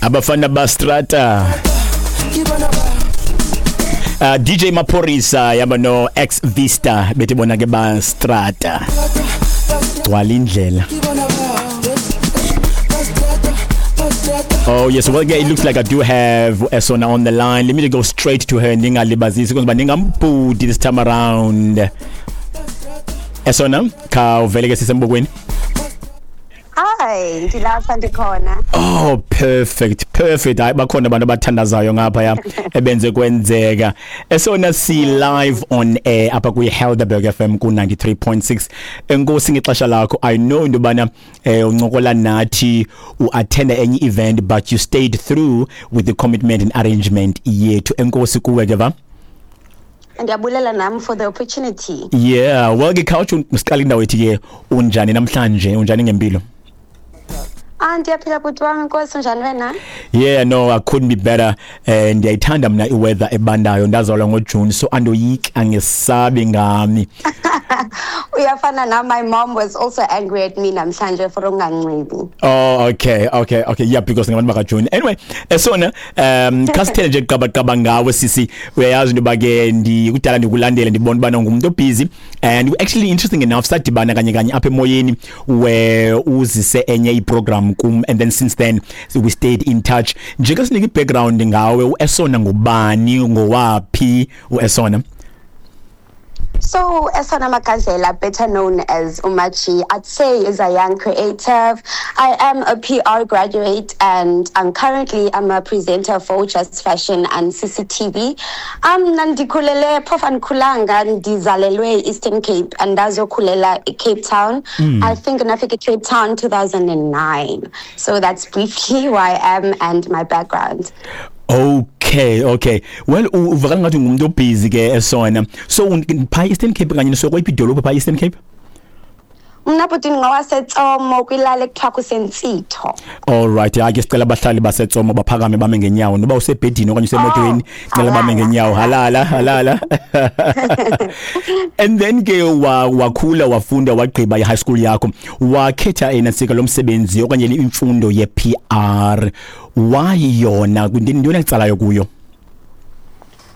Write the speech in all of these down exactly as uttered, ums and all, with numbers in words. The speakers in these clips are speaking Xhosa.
Abafana bastrata. Uh, D J Maphorisa yaba no Ex Vista bethi bona ke bastrata. Gcwala indlela. Oh yes, well, yeah, it looks like I do have Esona on the line. Let me go straight to her, ndingalibazisi because ndingambhudi this time around. Esona, khawuvele ke sisembokweni. Hi, ndilapha, ndikhona. Oh, perfect, perfect. Hayi, bakhona abantu abathandazayo ngapha ya ebenze kwenzeka. Esona, si live on air apha kwi Helderberg F M ku ninety-three point six. Enkosi ngexesha lakho. I know into bana eh uncokola nathi uattend enye event, but you stayed through with the commitment and arrangement yethu. Enkosi kuwe ke, va. Ndiyabulela nam for the opportunity. Yeah, well ke khawutsho siqala indawo ethi ke unjani namhlanje, unjani ngempilo? Ah, ndiyaphila bhuti wami, inkosi. Unjani wena? Yeah, no, I couldn't be better. Eh ndiyayithanda mna iweather ebandayo. Ndazalwa ngoJune, so andoyiki, angesabi ngami. Uyafana nam, my mom was also angry at me namhlanje for unganxibi. Oh, okay, okay, okay. Yeah, because ngabantu bakaJune. Anyway, esona um khasithele nje qaba qaba ngawe sisi. Uyayazi into ba ke ndikudala ndikulandela, ndibona ubana ngumuntu obusy, and actually, interesting enough, sadibana kanye kanye apha emoyeni where uzise enye iprogram kum, and then since then we stayed in touch. Nje ke sinike background ngawe, uEsona ngubani, ngowaphi uEsona? So, Esona Makazela, better known as Umachi, I'd say is a young creative. I am a P R graduate and I'm currently I'm a presenter for Just Fashion and C C T V. Um, Ndikhulele, phofu andikhulanga, ndizalelwe Eastern Cape and ndazokhulela Cape Town. Mm. I think ndafika Cape Town two thousand nine. So that's briefly who I am and my background. Okay, okay. Well, uvakala ngathi ngumuntu obusy ke Esona. So pha Eastern Cape kanye so kweyiphi idolophu pha Eastern Cape? Mna bhuti ngowaseTsomo, kwilali ekuthiwa kuseNtsitho. All right, hayi ke sicela abahlali baseTsomo baphakame bame ngenyawo, noba usebhedini okanye usemotweni, cela bame ngenyawo. Halala, halala. And then ke wa wakhula, wafunda, wagqiba i-high school yakho, wakhetha enasika lomsebenzi okanye imfundo ye-P R. Why yona? Intoni ekutsalayo kuyo?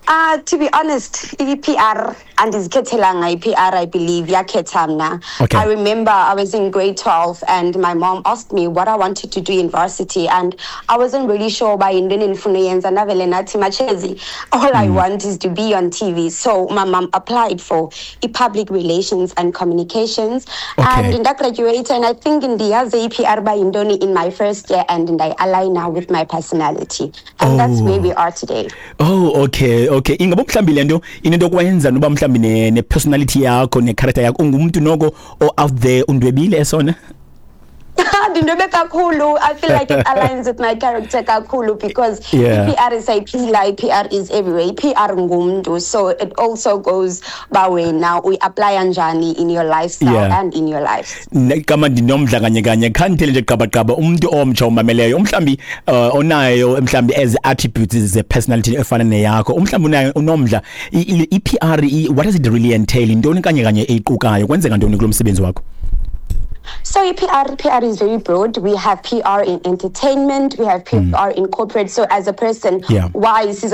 Uh, to be honest, i-P R andizikhethelanga i-P R, I believe yakhetha mna. Okay. I remember I was in grade twelve and my mom asked me what I wanted to do in varsity, and I wasn't really sure uba yintoni endifuna uyenza. Ndavele ndathi, "Machezi, all I want is to be on T V." So my mom applied for i-public relations and communications Okay. and ndagraduate, and I think ndiyazi i-P R uba yintoni in my first year and ndayi-aligna with my personality, and that's Oh. where we are today. Oh, okay, okay. Ingaba mhlambi lento inento kwenza noba mhlambi ne, ne personality yakho, ne character yakho, ungumuntu noko o out there, undwebile Esona? Ndindwebe kakhulu. I feel like it aligns with my character kakhulu because Yeah. i-P R isayiphila, i-P R is everywhere, i-P R ngumntu, so it also goes ba wena uyi-applya njani in your lifestyle Yeah. and in your life. Ne- kama ndinomdla kanye kanye, khandithele nje gqabagqaba, umuntu omtsha umameleyo umhlambi uh, onayo mhlambi as attributes ze personality efana neyakho, umhlambi unayo unomdla, i-P R, what does it really entail? Intoni kanye kanye eyiqukayo? Kwenzeka ntoni kulo msebenzi wakho? So P R, P R is very broad. We have P R in entertainment, we have P R in corporate. So as a person, Yeah. why is